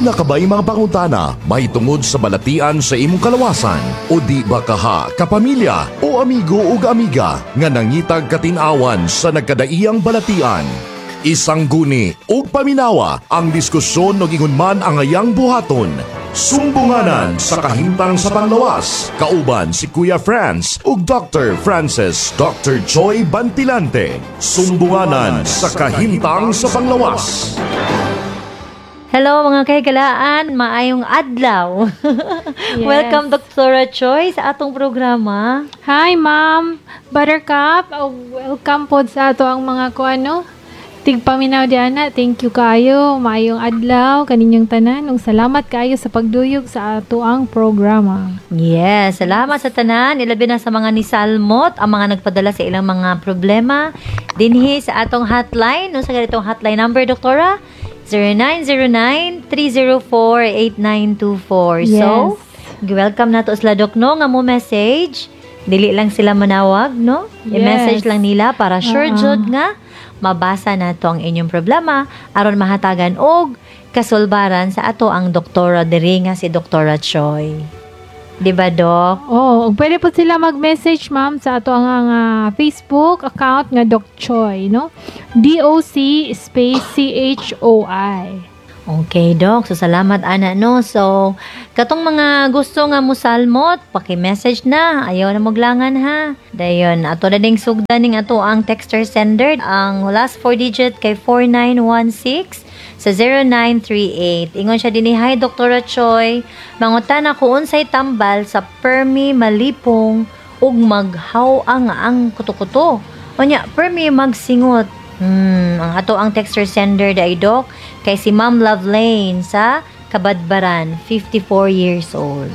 Duna ka ba'y mga pangutana mahitungod sa balatian sa imong kalawasan? O di ba kaha kapamilya o amigo ug amiga nga nangitag katin-awan sa nagkadaiyang balatian? Isangguni ug paminawa ang diskusyon ug ingon man ang ayang buhaton. Sumbunganan sa kahimtang sa panglawas. Kauban si Kuya Franz ug Dr. Francis Dr. Joy Bantilante. Sumbunganan sa kahimtang sa panglawas. Hello, mga kahigalaan, maayong adlaw. Yes. Welcome, Dr. Choi, sa atong programa. Hi, Ma'am Buttercup. Oh, welcome po sa ato ang mga kuano. Tigpaminaw diana. Thank you kayo. Maayong adlaw kaninyong tanan. Ug salamat kaayo sa pagduyog sa ato ang programa. Yes, salamat sa tanan, ilabi na sa mga nisalmot, ang mga nagpadala sa ilang mga problema dinhi sa atong hotline. No, sa ganitong hotline number, Doktora? 0909-304-8924. So, welcome na to sila, Dok, no, nga mo message. Dili lang sila manawag, no? I-message lang nila para sure jud nga mabasa na to ang inyong problema aron mahatagan og kasulbaran sa ato ang doktora diri nga si Doktora Choi. Di ba, Dok? Oh, ug pwede po sila mag-message, ma'am, sa ato ang Facebook account nga Doc Choi, no? DOC space CHOI. Okay, Dok. So, salamat, ana, no? So, katong mga gusto nga musalmot, paki-message na. Ayaw na moglangan, ha? Dayon, ato na ding sugdan ning ato ang texter sender. Ang last four digit kay 4916 sa 0938. Ingon siya dinhi, "Hi, Dr. Choi. Mangutana ko unsay tambal sa permi malipong ug maghaw ang kuto-kuto. Unya, permi magsingot." Ang ato ang texter sender dai, Dok, kay si Ma'am Lovelane sa Kabadbaran, 54 years old.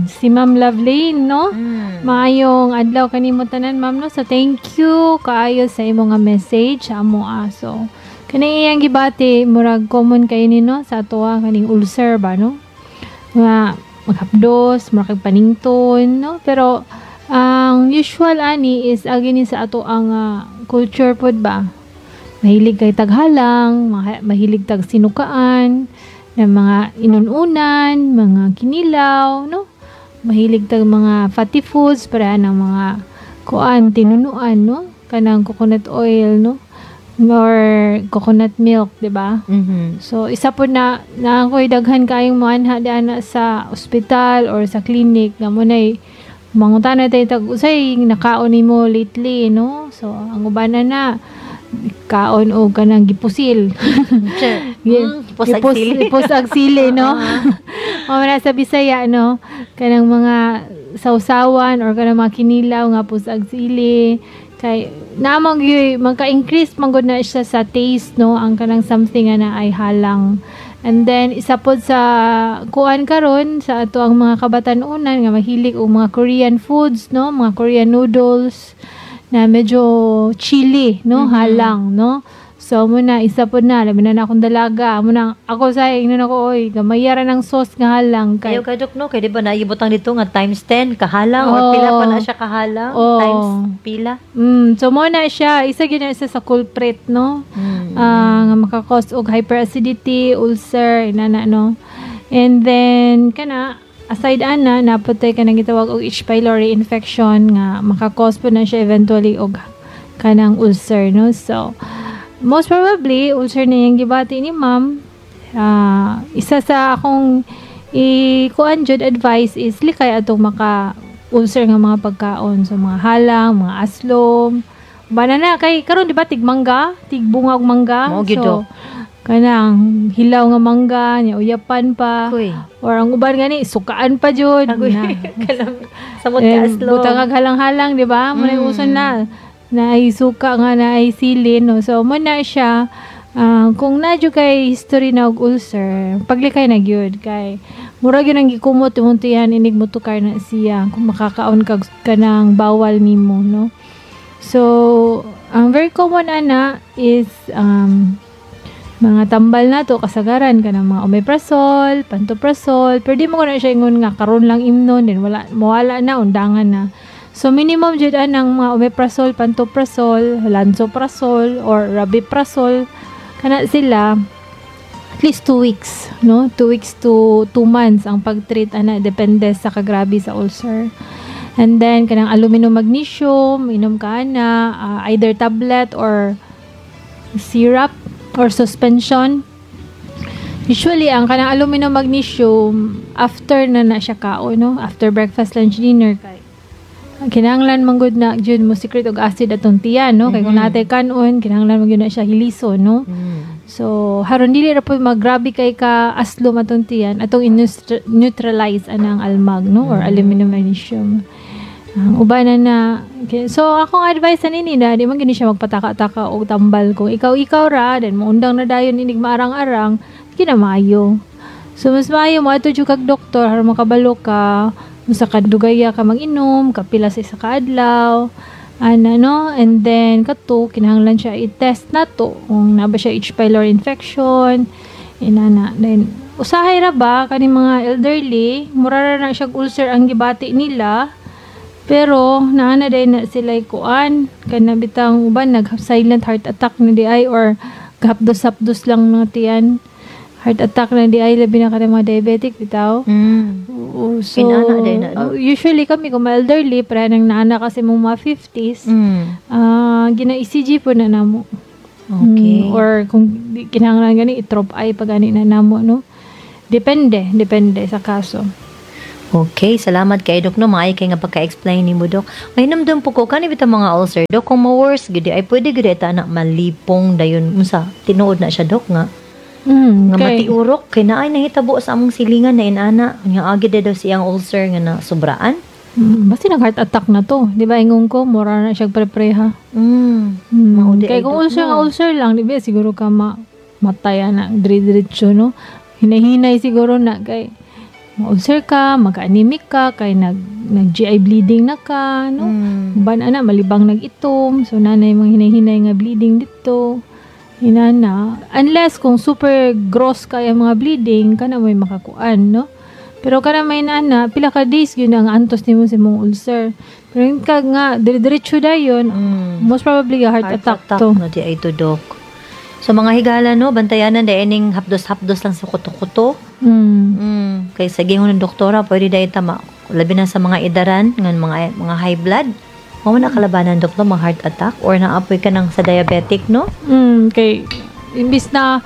Si Ma'am Lovelane, no? Mm. Maayong adlaw kanimo tanan, ma'am, no. So thank you kaayo sa imong nga message sa amo aso. Kani iyang gibati, murag common kay ni, no, sa atoa kaning ulcer ba, no? Nga maghapdos, murag panington, no? Pero ang usual ani is agi ni sa ato ang culture pod ba. Mahilig kay taghalang, mahilig tag sinukaan, ng mga inununan, mga kinilaw, no? Mahilig tag mga fatty foods, para ng mga kuan, tinunuan, no? Kanang coconut oil, no? Or coconut milk, di ba? Mhm. So, isa po na, na ako'y daghan kayong moanha diana sa ospital or sa clinic nga mo na'y mangutana tayo tag usay nakaon nimo lately, no? So, ang uban na na kaon og kanang gipusil. Pusag sili. Gipusag sili, no? O na sa Bisaya, no? Kanang mga sausawan or kanang mga kinilaw nga pusag sili. Kay naamang gyud magka-increase man gud na siya sa taste, no? Ang kanang something nga na ay halang. And then isa pod sa kuan karon sa ato ang mga kabatan-unan nga mahilig og mga Korean foods, no? Mga Korean noodles na medyo chili, no? Halang, no? So mo na isa pod na labi na akong dalaga mo na ako sa ingnon ako, "Oy, gamay ra ng sauce nga halang," kay Kayo ka, Dok, no? Kay di ba naibutang dito nga times 10 kahalang or pila pa na siya kahalang times pila. So mo na siya, isa gyud na isa sa culprit, no? Ah, nga maka-cause og hyperacidity, ulcer, inana, no. And then kana aside ana naputay kanang gitawag og H. pylori infection nga maka-cause po na siya eventually og kanang ulcer, no. So most probably ulcer na yung gibati ni ma'am. Ah, isa sa akong i-kuan jud advice is likay atong maka ulcer nga mga pagkaon, so mga halang, mga aslom, banana, kay karon di ba tig mangga, tig bungag mangga. Mao gyud, So Dok. kanang hilaw nga mangga nya uyapan pa Kuy. Or ang uban gani sukaan pa jud Agoy. na. Samot ka Eh, aslom. butang ag halang-halang, di ba? Mo na yung uso na na ay suka nga na ay sili, no? So, mo na siya, kung na jud kay history na og ulcer, paglikay na gyud kay murag yun ang gikumot imong tiyan inig motukar na siya kung makakaon kag kanang bawal nimo, no? So, ang very common ana is mga tambal na to kasagaran kanang mga omeprazole, pantoprazole, pero di mo ko na siya ingon nga karon lang imnon then wala mawala na, undangan na. So minimum jud anang mga omeprazole, pantoprazole, lansoprazole or rabeprazole kana sila. At least 2 weeks, no? 2 weeks to 2 months ang pag-treat ana, depende sa kagrabe sa ulcer. And then kanang aluminum magnesium, inom ka na either tablet or syrup or suspension. Usually ang kanang aluminum magnesium, after na na siya kaon, no? After breakfast, lunch, dinner, kay kinahanglan man gud na jud mo secrete og acid atong tiyan, no? Kay kung naa tay kanon, kinahanglan man gyud na siya hilison, no? So haron dili ra pud maggrabe kay ka aslom atong tiyan, atong neutralize anang almag, no, or aluminum magnesium. Ang uban na na. Okay. So akong advice ani na di man gini siya magpataka-taka og tambal. Kung ikaw ikaw ra then moundang na dayon inig maarang-arang, kinamaayo. So mas maayo mo adto jud kag doktor aron makabalo ka unsa ka dugaya ka mag-inom, kapila sa isa ka adlaw, ana, no? And then kato, kinahanglan siya i-test nato kung naa ba siya H. pylori infection, inana. Then usahay ra ba kani mga elderly, mura ra na siya ulcer ang gibati nila, pero naa na din na sila kuan, kana bitang uban nag silent heart attack na di ay or gahapdos-hapdos lang mga tiyan, heart attack na di ay, labi na kada mga diabetic bitaw. Oo, so Inana din na, no? Usually kami kung mga elderly pre nang naana kasi mong mga 50s, gina ECG po na namo. Or kung kinahanglan gani i-trop I pa gani na namo, no? Depende, depende sa kaso. Okay, salamat kay Dok, no, maayo kay nga pagka-explain nimo, Dok. May namdam po ko kani bitang mga ulcer, Dok, kung ma-worse gid ay pwede gid ta na malipong dayon, unsa tinuod na siya, Dok, nga nga matiurok kay naay nahitabo sa among silingan na inana nga agi daw siyang ulcer nga na sobraan? Basta nag heart attack na to. Di ba ingon ko, mura na siya prepreha. Mao di Kay ay, kung Dok, ulcer nga no? ulcer lang, di ba siguro ka matay na dire-diretso, no? Hinay-hinay siguro na kay ma-ulcer ka, magka-anemic ka, kay nag GI bleeding na ka, no? Uban ana malibang nag-itom, so nanay mga hinay-hinay nga bleeding dito. Inana, unless kung super gross kay ang mga bleeding, kana may makakuan, no? Pero kana may nana, pila ka days yun ang antos nimo sa imong ulcer. Pero yung ka nga dire-diretso dayon, most probably a heart attack to. No, di ay to, Dok. So mga higala, no, bantayanan dahil ining hapdos-hapdos lang sa kuto-kuto. Kay sa gingon ng doktora, pwede dahil tama. Labi na sa mga idaran, ngan mga high blood. Mao na kalabanan, Dok, no, mga heart attack or naapoy ka ng sa diabetic, no? Kay imbis na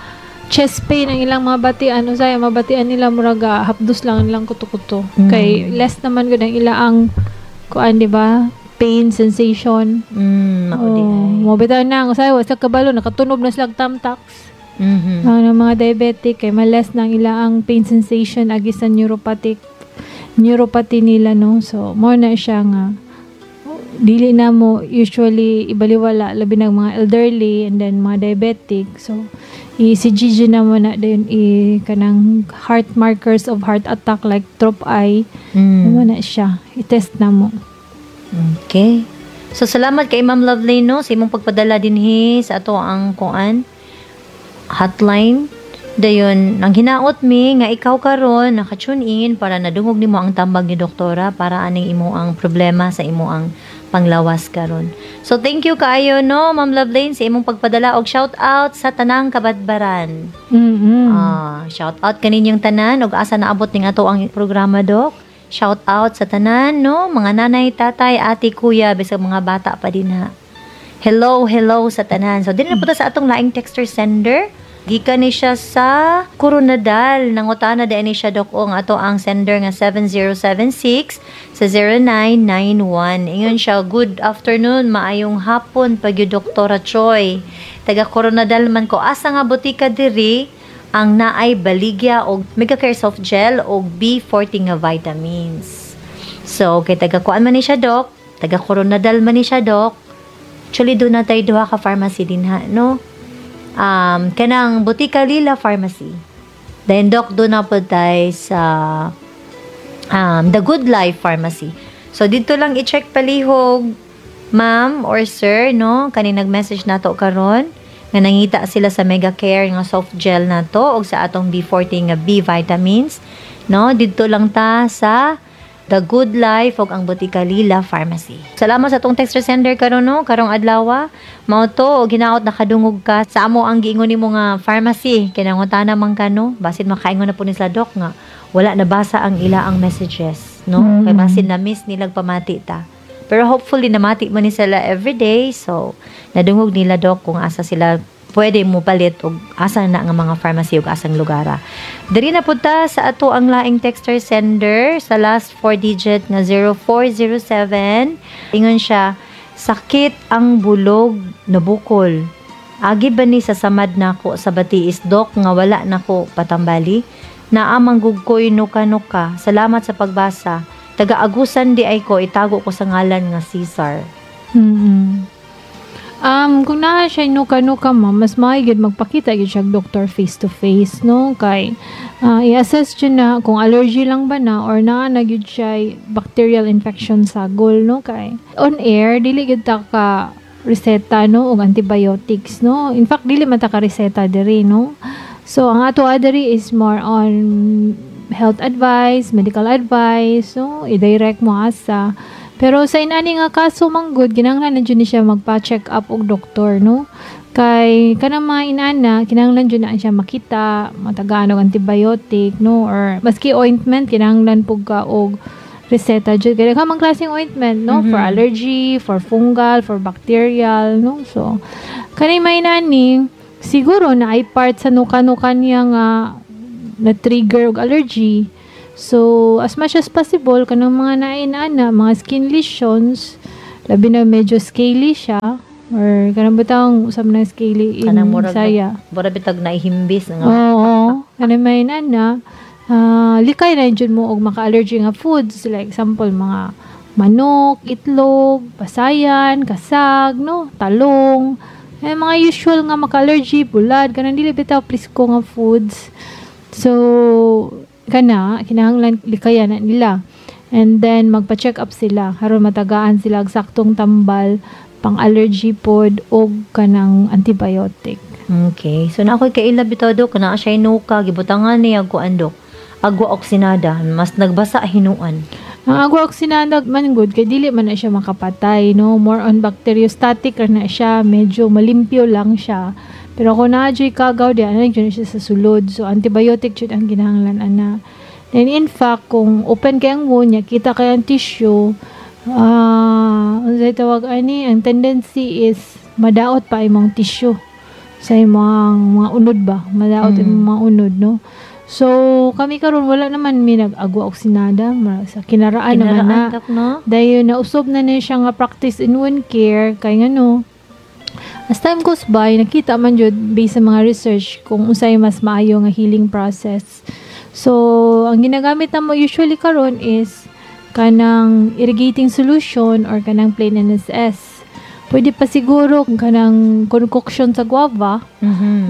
chest pain ang ilang mga batian, usay mabatian nila murag hapdos lang ang ilang kuto-kuto. Kay less naman gud ang ila ang kuan, di ba? Pain sensation. Mao di Oh, ay. mo bitaw na usay wa sa kabalo nakatunob na sila og tamtax. Ang mga diabetic kay ma-less na ang ila ang pain sensation agi sa neuropathy nila, no? So mo na siya nga dili na mo usually ibaliwala, labi na mga elderly and then mga diabetic. So i-ECG na mo na din, i kanang heart markers of heart attack like trop I, mo na siya i-test na mo. Okay. So salamat kay Ma'am Lovely, no, sa imong pagpadala dinhi sa ato ang kuan hotline. Dayon, ang hinaot mi nga ikaw karon naka-tune in para nadungog nimo ang tambag ni doktora para aning imo ang problema sa imo ang panglawas karon. So thank you kaayo, no, Ma'am Lovelane, sa imong pagpadala og shout out sa tanang Kabadbaran. Ah, shout out kaninyong tanan og asa naabot ning ato ang programa, Dok. Shout out sa tanan, no, mga nanay, tatay, ate, kuya, bisag mga bata pa din ha. Hello, hello sa tanan. So dinhi na po ta sa atong laing texter sender. Gikan ni siya sa Koronadal. Nangutana din ni siya, Dok, ang ato ang sender nga 7076 sa 0991. Ingon siya, "Good afternoon, maayong hapon pag Doktora Choi. Taga Koronadal man ko. Asa nga botika diri ang naay baligya og Megacare soft gel og B40 nga vitamins?" So, kay taga kuan man ni siya, Dok, taga Koronadal man ni siya, Dok. Actually, doon na tayo duha ka pharmacy din ha, no? Kanang Botika Lila Pharmacy. Then, Doc, doon na po tayo sa The Good Life Pharmacy. So, dito lang i-check palihog, ma'am or sir, no? Kani nag-message nato karon nga nangita sila sa Megacare nga soft gel nato og sa atong B40 nga B vitamins, no? Dito lang ta sa The Good Life ug ang Botika Lila Pharmacy. Salamat sa atong texter sender karon, no, karong adlaw. Mao to ginaot nakadungog ka sa amo ang giingon nimo nga pharmacy kay nangutana man ka, no, basin makaingon na po ni sa doc nga wala nabasa ang ila ang messages, no, kay basin na miss nilag pamati ta. Pero hopefully namati man ni sila everyday, so nadungog nila, doc, kung asa sila pwede mo palit og asa na nga mga pharmacy ug asang lugara. Diri na pud ta sa ato ang laing texter sender sa last four digit nga 0407. Ingon siya, "Sakit ang bulog, nabukol. Agi ba ni sa samad nako sa batiis, dok, nga wala nako patambali? Naa man gud ko'y nuka-nuka. Salamat sa pagbasa. Taga-Agusan diay ko, itago ko sa ngalan nga Cesar." Kung naa siya nuka-nuka, ma'am, mas maayo gyud magpakita gyud siya og doktor face to face, no? Kay i-assess jud na kung allergy lang ba na or naa na gyud siya bacterial infection sa gol, no? Kay on air dili gyud ta ka reseta, no, og antibiotics, no? In fact, dili man ta ka reseta diri, no? So ang ato diri is more on health advice, medical advice, no? I-direct mo asa. Pero sa inani nga kaso manggod, kinahanglan na jud ni siya magpa-check up og doktor, no? Kay kanang mga inana, kinahanglan jud na siya makita, matagaan og antibiotic, no? Or maski ointment, kinahanglan pug ka og reseta jud. Kay daghan man klaseng ointment, no? For allergy, for fungal, for bacterial, no? So kanang mga inani, siguro na ay part sa nuka-nuka niya nga na-trigger og allergy. So, as much as possible, kanang mga nainana, mga skin lesions, labi na medyo scaly siya, or kanang butang usab na scaly in Kanang murag Bisaya. Mura bitag naihimbis nga. Oo, kanang may inana, likay na jud mo og maka-allergy nga foods, like example, mga manok, itlog, pasayan, kasag, no, talong, eh, mga usual nga maka-allergy, bulad, kanang dili bitaw presko nga foods. So, kana, kinahanglan likayan na nila. And then, magpa-check up sila. Aron matagaan sila og saktong tambal, pang allergy pod, og kanang antibiotic. Okay. So na ako'y kaila bitaw, dok, naa siya nuka, gibutangan niya kuan, dok. Agwa oksinada, mas nagbasa hinuan. Ang agwa oksinada man gud kay dili man na siya makapatay, no? More on bacteriostatic ra na siya, medyo malimpyo lang siya. Pero kung naa juy kagaw di ana jud na siya sa sulod. So antibiotic jud ang kinahanglan ana. Then in fact, kung open kay ang wound niya, kita kay ang tissue, unsay tawag ani, ang tendency is madaot pa imong tissue sa imong mga unod ba, madaot imong mga unod, no? So kami karon wala naman mi nag-agwa oksinada, sa kinaraan naman na. Kinaraan, dok, no? Dayon nausob na na siya nga practice in wound care kay ngano as time goes by nakita man jud based sa mga research kung unsay mas maayo nga healing process. So ang ginagamit namo usually karon is kanang irrigating solution or kanang plain NSS. Pwede pa siguro kung kanang concoction sa guava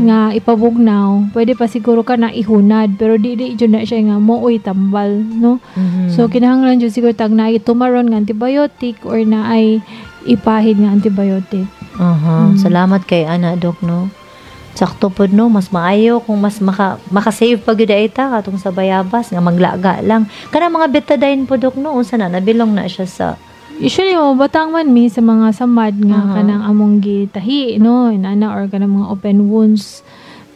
nga ipabugnaw, pwede pa siguro ka na ihunad, pero di jud na siya nga mooy tambal, no? So kinahanglan jud siguro tag naay tumaron nga antibiotic or naay ipahid nga antibiotic. Salamat kay ana, dok, no. Sakto pod, no, mas maayo kung mas maka-save pa gyud ay ta katong sa bayabas nga maglaga lang. Kanang mga Betadine po, dok, no, unsa na nabilong na siya sa Usually mo batang man mi sa mga samad nga kanang among gitahi, no, inana or kanang mga open wounds.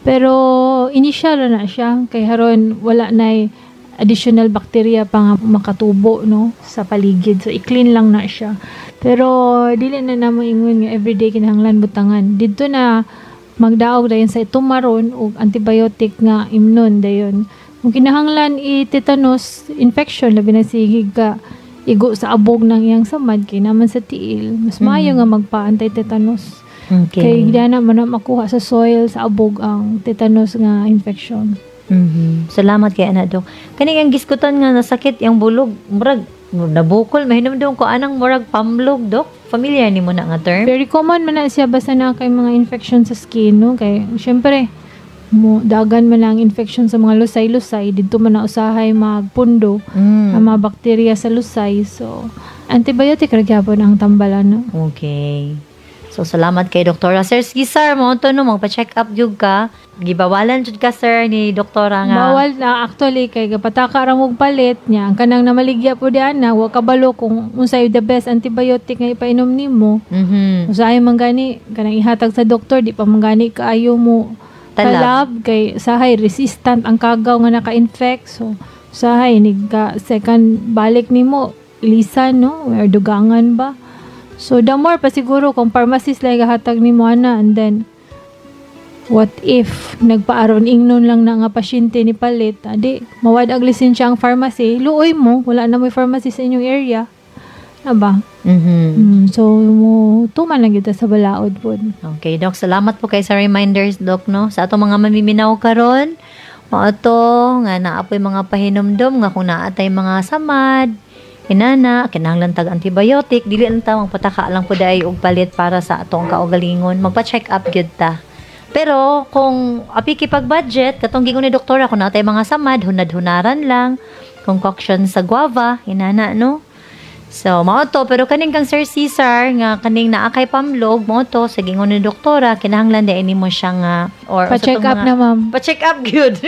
Pero initial ra na siya kay haron wala nay additional bacteria pa nga makatubo, no, sa paligid. So i-clean lang na siya. Pero dili na namo ingon nga everyday kinahanglan butangan. Didto na magdaog dayon sa tumaron og antibiotic nga imnon dayon. Kung kinahanglan i-tetanus infection, labi na sige ka igo sa abog ng iyang samad kay naman sa tiil, mas maayo nga magpa-anti-tetanus. Kay di na man na makuha sa soil sa abog ang tetanus nga infection. Salamat kay ana, dok. Kani ang giskutan nga nasakit yang bulog, murag nabukol mahinumdum ko anang murag pamlog, dok. Familiar nimo na nga term? Very common man na siya basta na kay mga infection sa skin, no, kay syempre mo dagan man ang infection sa mga lusay-lusay didto man na usahay magpundo ang mga bakterya sa lusay, so antibiotic ra gyapon ang tambalan, no? Okay. So salamat kay Doktora. Sir Cesar, mao to, no, magpa-check up gyud ka. Gibawalan jud ka, sir, ni doktora nga. Bawal na actually kay gapataka ra mong palit niya. Ang kanang namaligya po di ana, wa kabalo kung unsay the best antibiotic nga ipainom nimo. Usahay man gani kanang ihatag sa doktor, di pa man gani kaayo mo Talab. talab kay sahay resistant ang kagaw nga naka-infect. So usahay nigka second balik nimo ilisan, no, or dugangan ba. So the more pa siguro kung pharmacist lang gahatag nimo ana, and then what if nagpaaron ingnon lang na nga pasyente ni palit, adi mawad ang lisensya ang pharmacy, luoy mo, wala na mo'y pharmacy sa inyong area na ba? So mo tuman lang kita sa balaod pod. Okay, Doc. Salamat po kay sa reminders, Doc, no? Sa atong mga mamiminaw karon, mao to nga naa po'y mga pahinumdom nga kung naa tay mga samad, inana, kinahanglan tag antibiotic, dili lang ta magpataka lang po dai og palit para sa atong kaugalingon. Magpa-check up gyud ta. Pero kung apiki pag budget, katong giingon ni doktora, kung naa tay mga samad, hunad-hunaran lang, concoction sa guava, inana, no? So, mao to, pero kaning kang Sir Cesar nga kaning naa kay pamlog, mao to sa gingon ni doktora, kinahanglan di nimo siya nga or Pa-check up na, ma'am. Pa-check up gyud.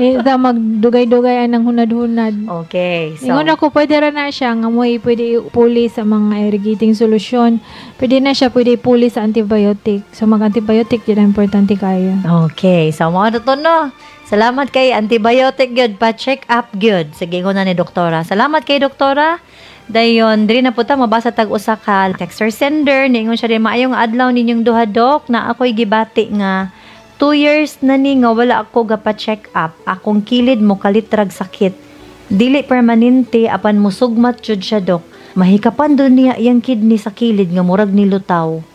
Eh, ta magdugay-dugay anang hunad-hunad. Okay. So, Ingon ako, pwede ra na siya nga mo'y pwede ipuli sa mga irrigating solution. Pwede na siya pwede ipuli sa antibiotic. So mag-antibiotic yun ang importante kayo. Okay. So, mao to, no. Salamat kay antibiotic gyud, pa-check up gyud. Sige ko na ni doktora. Salamat kay doktora. Dayon, diri na po ta mabasa tag usa ka texter sender. Niingon siya din, "Maayong adlaw ninyong duha, Dok, na ako'y gibati nga 2 years na ni nga wala ako gapa-check up. Akong kilid mo kalitrag sakit. Dili permanente apan musugmat jud siya, Dok. Mahikapan do niya iyang kidney sa kilid nga murag nilutaw."